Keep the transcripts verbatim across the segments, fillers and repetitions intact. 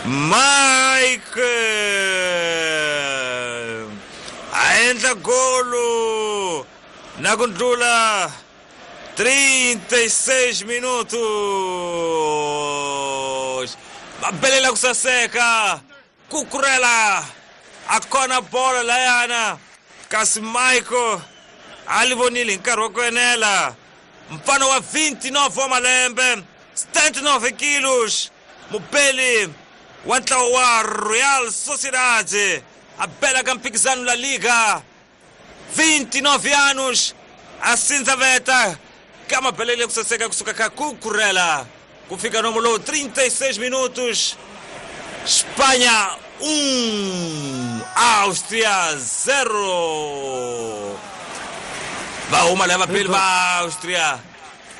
Mike a endla golo na ku ndlula trinta e seis minutos. Va belela ku saseka Cucurella a kona bola layana kasi Michael a li vonile hi nkarhi wa ku enela. Mfana wa vinte e nove wa malembe, setenta e nove quilos, mubeli wa ntlawa wa Real Sociedad a bela ka mphikizano La Liga, vinte e nove anos, a sindzaveta ka mabelele ku saseka kusuka ka Cucurella ku fika nomo lowu trinta e seis minutos. Espanha um, Áustria zero. Va huma lava vabeli va Áustria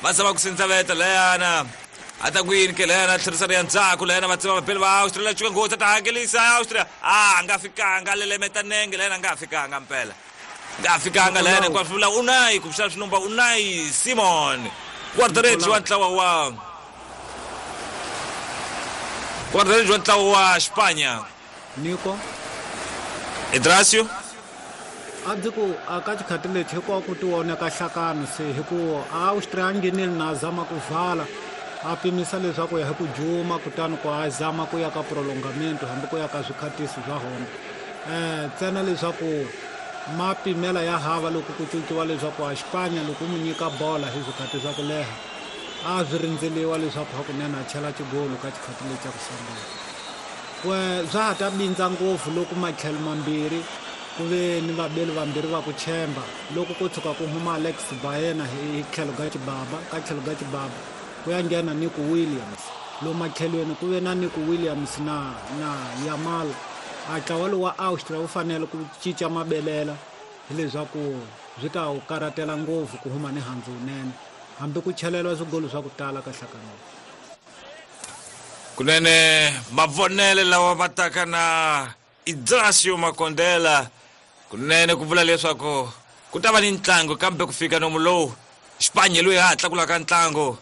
va zama ku sindzaveta layana a ta ku yini ke layana tlherisana ya ndzhaku layana va tsema vabeli va Áustria la cuka nghozi a ta hakelisa Áustria a nga fikanga lelemeta nenge layana nga fikanga mpela nga fikanga layana hinkwaswo vula Unai kumbexana swi nomba Unai Simon guarda-redes wa ntlawa wa guarda-redes wa ntlawa wa Espanha Nico Idracio a ndzi ku a ka xikhati lexi hinkwaku ku tivoneka hlakano se hi ku Austria a nghenile na zama ku vala a pimisa leswaku ya hi ku juma kutani ku a zama ku ya ka prolongamento hambi ku ya ka swikhatisi swa hona um ntsena leswaku mapimela ya hava loko ku cinciwa leswaku a Xipanya loko u mu nyika bola hi swikhati swa ku leha a swi rindzeliwa leswaku hakunene a chela xigolo ka xikhati lexi xa ku sungula. We swa ha ta bindza ngopfu loko matlhelo mambirhi ku ve ni vabeli vambirhi va ku tshemba loko ko tshuka ku huma Alex Baena hi tlhelo ka xibaba ka tlhelo ka xibaba ku ya nghena Nico Williams lomu matlhelweni ku ve na Nico Williams na na Yamal a ntlawa lowu wa Austria wu fanele ku cinca mabelela hileswaku swi ta wu karhatela ngopfu ku huma ni handzu wunene hambi ku cheleriwa swigolo swa ku tala ka hlakano. Kunene mavonele lawa va taka na Idracio Makondela kunene ku vula leswaku ku ta va ni ntlangu kambe ku fika nomu lowu Xipanya loyi ha tlakulaka ntlangu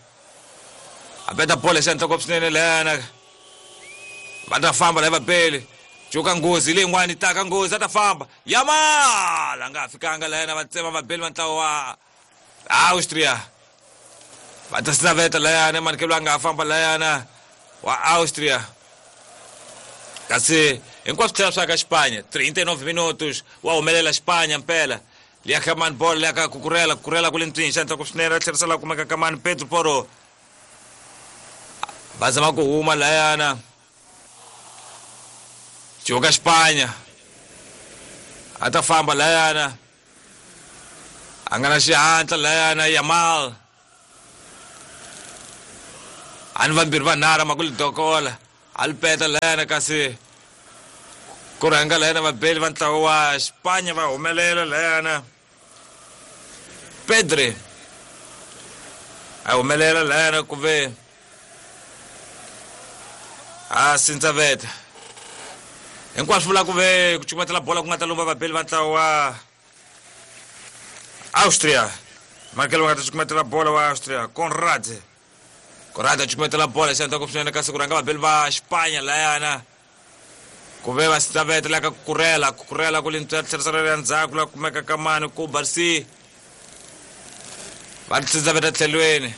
a beta bola xa ntloko swinene layana va ta famba lava bele cuka nghozi leyin'wana yi taka nghozi a ta famba Yamal a nga fikanga layana va tsema vabeli va ntlawa wa Austria va ta sinaveta layana manikelo a nga famba layana wa Austria kasi hinkwaswo tlhela swa ka Xipanya trinta e nove minutos wa humelela Xipanya mpela liya ka mani bolo liya ka Cucurella Cucurella ku le ntswini xa ntloko swinene a tlherisa la kumeka ka mani Pedro Porro va zama ku huma layana cuka Xipanya a ta famba layana a nga na xihatla layana Yamal a ni vambirhi vanharhu ma ku li dokola a li peta layana kasi ku rhanga layana vabeli va ntlawa wa Xipanya va humelela layana Pedri a humelela layana ku ve a sindzaveta hinkwaswo vula ku ve ku cukumetela bola ku nga ta lumba vabeli va ntlawa wa Austria Michael va nga ta cukumetela bola wa Austria Konrad Konrad a cukumetela bola xa ndzhaku swinene kasi ku rhanga vabeli va Xipanya layana ku ve va sindzaveta la ka Cucurella Cucurella ku le tlherisela ya ndzhaku la kumeka ka mani ku Barsi va sindzaveta tlhelweni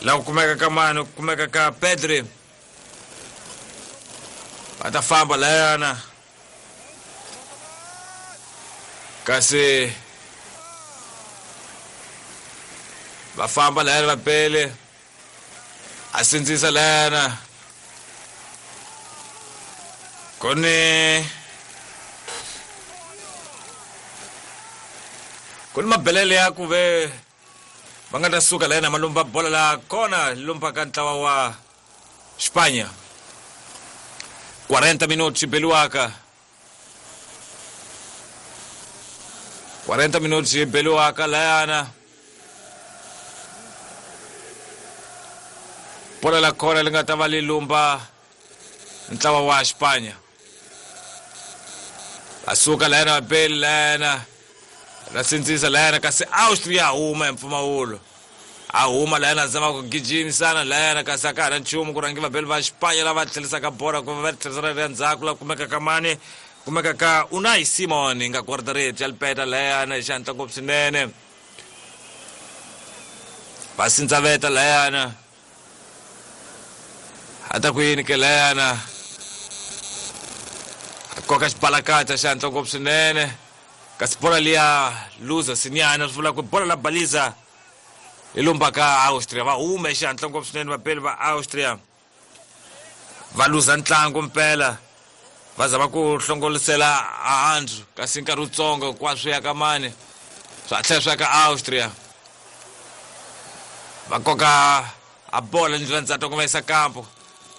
la ku kumeka ka mani ku kumeka ka Pedri va ta famba layana kasi va famba layana va bele a sindzisa layana koni ku ni mabelele ya ku ve va nga ta suka layana ma lumba bola la kona lumba ka ntlawa wa Xipanya quarenta minutos beliwaka quarenta minutos beliwaka layana bola la kona li nga ta va li lumba ntlawa wa Xipanya va suka layana va beli layana ra sindzisa layana kasi Austria huma hi mpfumawulo A huma layana zama ku gijimisana layana kasi a ka ha na nchumu ku rhangi vabeli va Xipanya lava tlherisaka bora ku va tlherisela le ndzhaku la kumeka ka mani kumeka ka Unai Simon nga guardareti ya lipeta layana hi xihatla ngopfu swinene. Va sindzaveta layana a ta ku yini ke layana a koka xibalakata xihatla ngopfu swinene kasi bora liya luza sinyana swi vula ku bora la baliza hi lumba ka Austria. Va hume xihatla ngopfu swinene vapeli va Austria va luza ntlangu mpela va zama ku hlongolisela ahandzu kasi nkarhi wutsongo hinkwaswo ya ka mani swa tlhela swi ya ka Austria. Va koka a bola ndlela ndzhaku va yisa kampo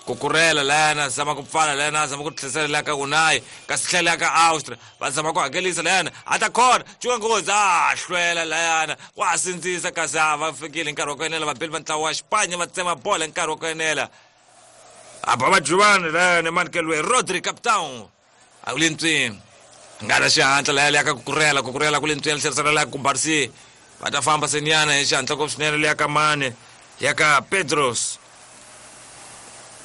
Kukurela layana zama ku pfala layana zama ku tlherisela la ka Unai kasi tlhela ka Austria va zama ku hakelisa layana a ta khona cuka nghozi a hlwela layana wa sindzisa kasi a va fikile nkarhi wa ku enela vabeli va ntlawa wa Xipanya va tsema bola nkarhi wa ku enela a ba majuvani layana manikeliwe Rodri capitão a ku le ntswini nga na xihatla laya leya ka Kukurela Kukurela ku le ntswini tlherisela la ku Barsi va ta famba senyana hi xihatla ngopfu swinene leya ka mani ya ka Pedros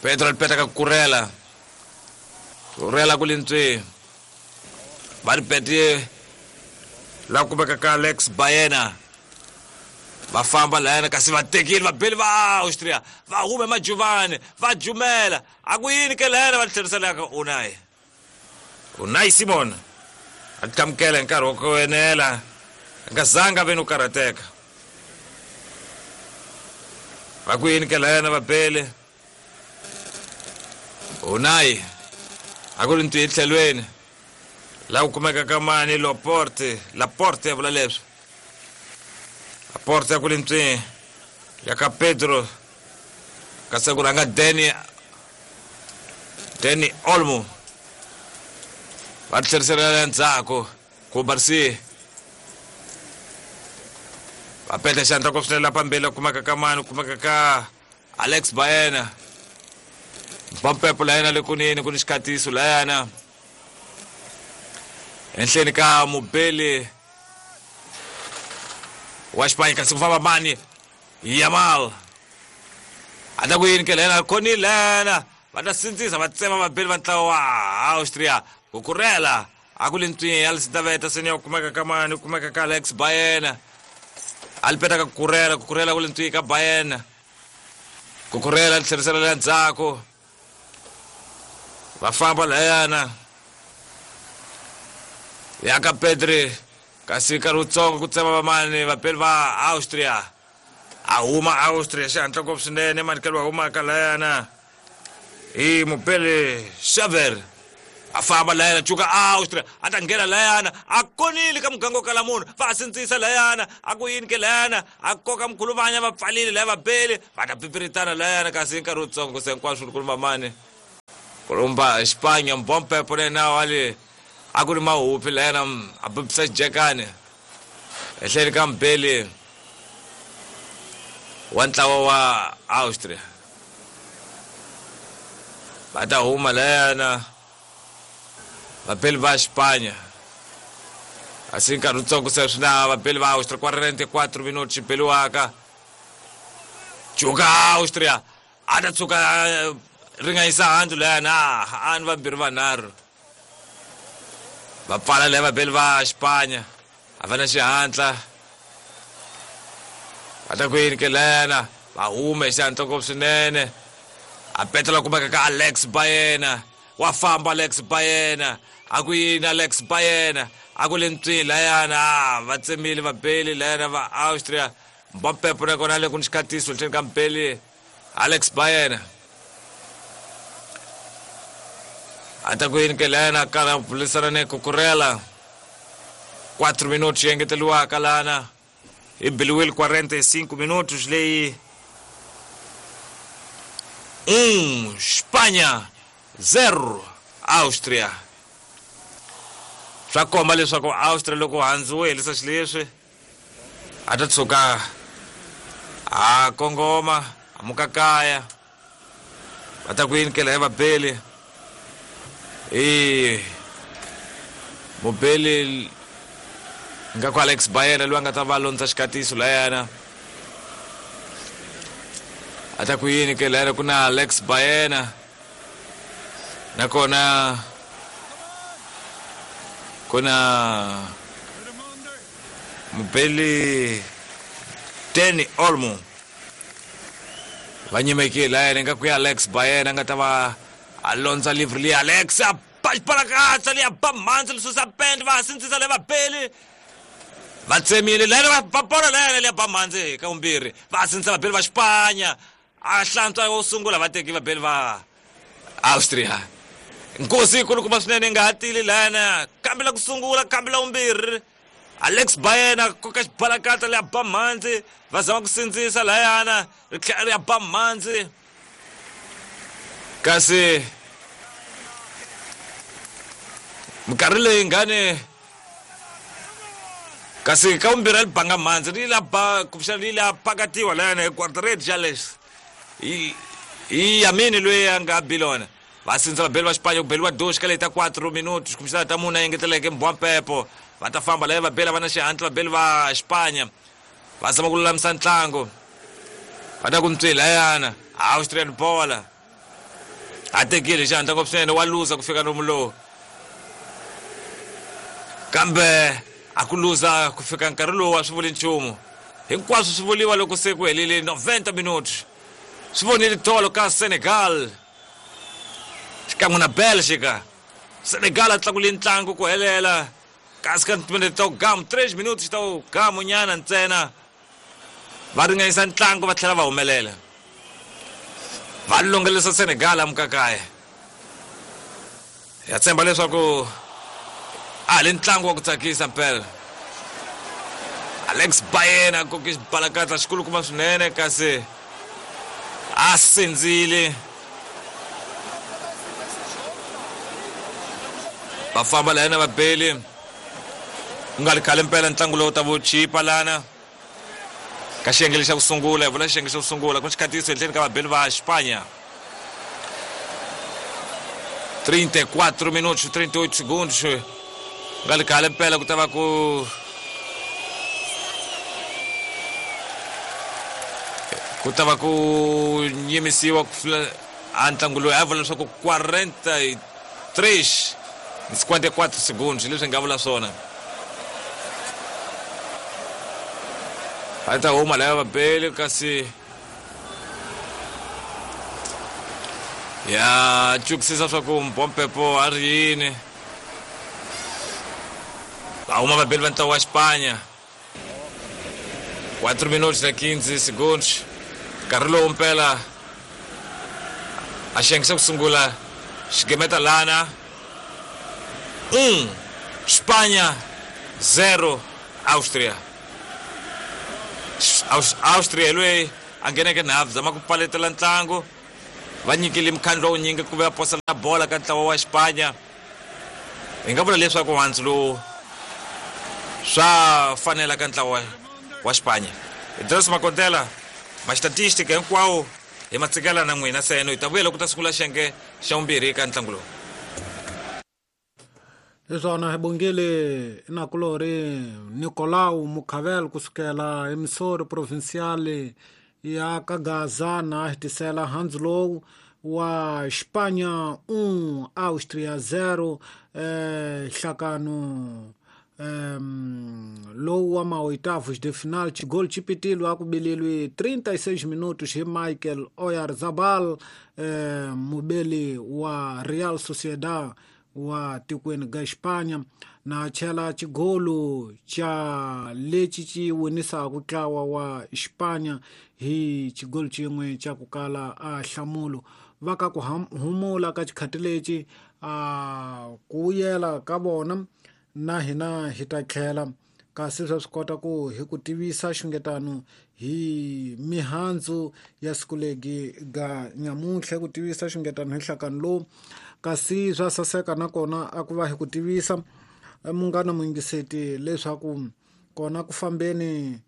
Pedro alipeta ka Kukurela Kukurela ku le ntswini va ri pete la kumeka ka Alex Baena va famba layana kasi va tekile vabeli va Austria va hume majuvani va jumela a ku yini ke layana va tlherisela ka Unai Unai Simon a tlamukela hi nkarhi wa ku enela a nga zanga ve no karhateka va ku yini ke layana vabeli Unai a ku ri ntwi etlhelweni la ku kumeka ka mani Laporte Laporte ya vula leswi Laporte ya ku le ntswini ya ka Pedro kasi ku rhanga Dani Dani Olmo va tlherisela endzhaku ku Barsi va peta xandla ku swinene la phambili kumeka ka mani kumeka ka Alex Baena Mpampepo layana le kunene ku ni xikhatiso layana enhleni ka mubeli wa Xipanya kasi ku famba mani Yamal a ta ku yini ke layana khonile layana va ta sindzisa va tsema vabeli va ntlawa wa Austria Kukurela a ku le ntswini ya Lisitaveta seni ya kumeka ka mani kumeka ka Alex Baena a li peta ka Kukurela Kukurela ku le ntswini ka Baena Kukurela tlherisela le ndzhaku va famba layana ya ka Pedri kasi nkarhi wutsongo ku tsema vamani vapeli va Austria a huma Austria xihatla ngopfu swinene manikelo wa humaka layana hi mupeli Xaver a famba layana cuka Austria a ta nghena layana a konile ka muganga wo kala munhu va sindzisa layana a ku yini ke layana a koka mkhuluvanya va pfalile laya vabeli va ta pipiritana layana kasi nkarhi wutsongo se hinkwaswo kulumba mani kulumba Xipanya mbompepo lena wale a ku ri mahupi layana a bibisa xijekani ehleni ka mbeli wa ntlawa wa Austria va ta huma layana vabeli va Xipanya asi nkarhi wutsongo se swi na vabeli va Austria quarenta e quatro minuti xi beliwaka cuka Austria a ta tshuka ringanyisa handzu layana a ni vambirhi vanharhu va pfala laya vabeli va Xipanya a va na xihatla va ta ku yini ke layana va hume hi xihatla ngopfu swinene a petela kumeka ka Alex Baena wa famba Alex Baena a ku yini Alex Baena a ku le ntswini layana va tsemile vabeli layana va Austria Mbampepo na kona le ku ni xikhatiso nhleni ka mbeli Alex Baena a ta ku yini ke layana karhi a bulisana ni Kukurela quatro minutos yi engeteriwaka lana hi biliwile quarenta e cinco minutos leyi um Espanha zero Austria swa komba leswaku Austria loko handzu wo helisa xileswi a ta tshuka a kongoma a muka kaya va ta ku yini ke laya vabeli i mubeli nga ku Alex Baena loyi a nga ta va londza xikatiso layana A ta ku yini ke layana ku na Alex Baena nakona ku na mubeli Dani Olmo va nyimekile layana nga ku ya Alex Baena nga ta va a londza livre liya Alex a ba xibalakatsa liya ba mhandzi li susa pende va sindzisa le vabeli va tsemile layana va ba bolo layana liya ba mhandzi ka vumbirhi va sindzisa vabeli va Xipanya a hlantswa wo sungula va teki vabeli va Austria. Nkosi yikulukumba swinene nga hatili layana kambe la ku sungula kambe la vumbirhi Alex Baena koka xibalakatsa liya ba mhandzi va zama ku sindzisa layana ri tlhela ri ya ba mhandzi kasi minkarhi leyi ngani kasi ka vumbirhi a li banga mhandzi ri la ba kumbexana ri la pakatiwa layana hi guardarede Jales hi hi Yamini loyi a nga bilona va sindza vabeli va Xipanya ku beliwa doxi ka leyi ta quatro minutos kumbexana ta mune a engeteleke mbwampepo va ta famba laya vabeli va na xihatla vabeli va Xipanya va zama ku lulamisa ntlangu va ta ku ntswi layana Austrian bola a tekile xihatla ngopfu swinene wa luza ku fika lomu lowu kambe a ku luza ku fika nkarhi lowu a swi vuli nchumu hinkwaswo swi vuriwa loko se ku helile noventa minutos swi vonile tolo ka Senegal xikan'we na Belgica. Senegal a tlakule ntlangu ku helela kasi ka timinete ta gamu três minutos ta gamu nyana ntsena va ringanyisa ntlangu va tlhela va humelela va longelisa Senegal amukakaya ya tshemba leswaku a le ntlangu wa ku tsakisa mpela. Alex Baena koke xibalakatsa xikulukumba swinene kasi a sindzile va famba layana vabeli ku nga ri khale mpela ntlangu lowu ta vo chipa lana ka xiyenge lexa ku sungula hi vula xiyenge xa ku sungula ku xikhatiso ehenhleni ka vabeli va Xipanya trinta e quatro minutos trinta e oito segundos ku nga ri khale mpela ku ta va ku ku ta va ku yimisiwa ku a ntlangu lowu a vula leswaku quarenta e três cinquenta e quatro segundos leswi nga vula swona a ta huma laya vabeli kasi ya cukisisa swa ku mbompepo a ri yini va huma vabeli va ntlangu wa Xipanya quatro minutos na quinze segundos nkarhi lowu mpela a xiyenge xa ku sungula xigemeta lana um Espanha zero Austria. Austria loyi a ngheneke nhafu zama ku paletela ntlangu va nyikile mukhandlu wa wunyingi ku va posa na bola ka ntlawa wa Xipanya hi nga vula leswaku handzu lowu swa fanela ka ntlawa wa Xipanya. Idris Makondela ma-statistic hinkwawo hi ma tsikela na n'wina seno hi ta vuya loko ta sungula xiyenge xa vumbirhi ka ntlangu lowu. Leswona hi bongile nakulori Nicolau Mukhavel kusukela emisori provincial ya Kagaza na hitisela handzu lowu wa Xipanya um Austria zero eh, hlakano um, lowu wa maoitavos de final xigolo xi pitilwe a ku beleliwe trinta e seis minutos hi Michael Oyarzabal eh, mubeli wa Real Sociedad wa tikweni ga Xipanya na chela xigolo xa lexi xi winisaka ntlawa wa Xipanya hi xigolo xin'we xa ku kala a hlamulo va ka ku humula ka xikhati lexi a ku vuyela ka vona na hina hi ta tlhela kasi swa swi kota ku hi ku tivisa xungetano hi mihandzu ya siku legi ga nyamuntlha ku tivisa xungetano hi nhlakano lowu kasi swa saseka nakona a ku va hi ku tivisa munghana muyingiseti leswaku kona ku fambeni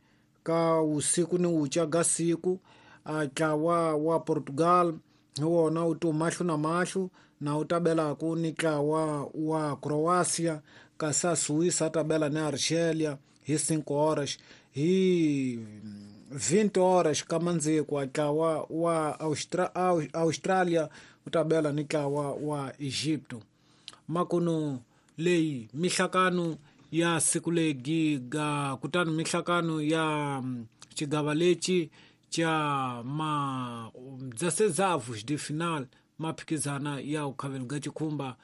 ka wusiku ni wuca ga siku a ntlawa wa Portugal hi wona wu ti mahlo na mahlo na wu tabelaku ni ntlawa wa Croatia kasi a Suíça a tabela ni Argelia hi cinco horas hi vinte horas kamandzikwa ntlawa wa Austra Australia wu ta bela ni ntlawa wa Egipto. Makuno leyi mihlakano ya siku legi ga kutani mihlakano ya xigava lexi cha ma dezesseisavos de final maphikizana ya ukhavelo ga chikhumba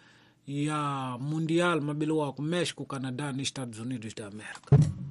ya Mundial mabeliwako México, Canadá ni Estados Unidos da América.